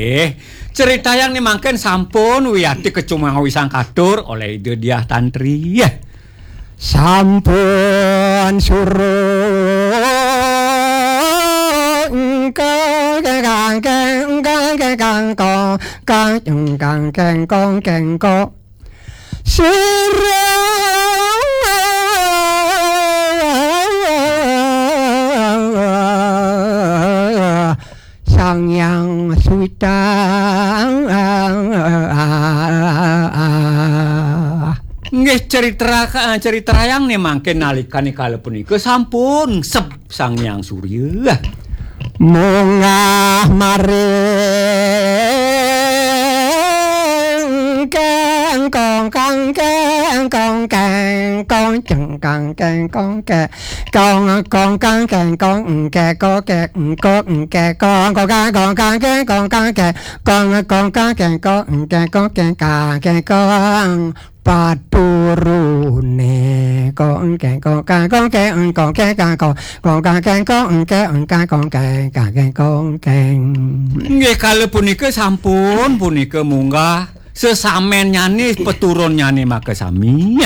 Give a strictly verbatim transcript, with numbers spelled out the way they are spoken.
Eh, ceritayang ni mangkin sampun wiati kacumawi sang katur oleh Ida Diah Tantri. Sampun suruh engkang kengkang kengkang kengkong kang kengkong kengkong sira Sang Hyang Suwita. Nggih, cerita, eh, ceritayang nih mangkin nalikane kala punika sampun sep Sang Hyang Surya. Munggah maring kengkong kang kengkong kengkong cengkang kengkong ke kong kong kang kengkong engke ko ke engko engke kong kong kang kong kang kengkong kang ke kong kong kang kengkong engke ko ke kang kengkong paturune kong kengkong kang kong ke engkong ke kang kong kong kang kengkong engke engka kong keng kang kengkong keng. Nggih, kala punika sampun punika munggah sesamennyané peturunnyane makasami.